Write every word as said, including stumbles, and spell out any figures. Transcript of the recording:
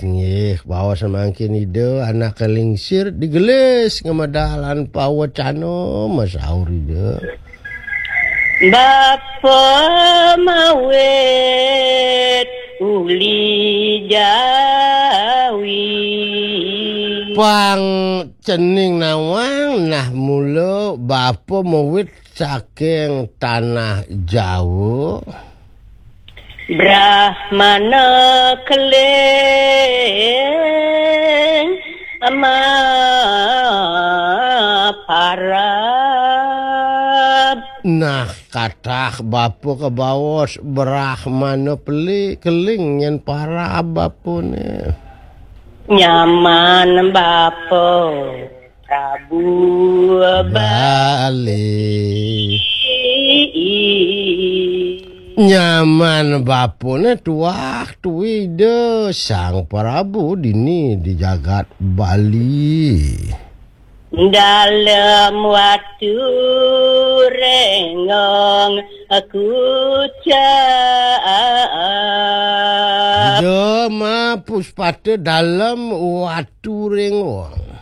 Nggih, baos mangkin Ida, anak lingsir digelis ngemedalan pawecana masaur Ida. Bapa mawit uli Jawi. Pang cening nawang nah mula bapa mawit saking tanah Jawa. Brahmana keling ama parab. Nah, katah bapa kebaos Brahmana peli keling nyen parab bapane. Nyaman bapa Prabu Bali. Nyaman bapane tuah tuida Sang Prabu dini di jagat Bali. Dalam watu rengong kucap. Ida ma puspata dalam watu rengong.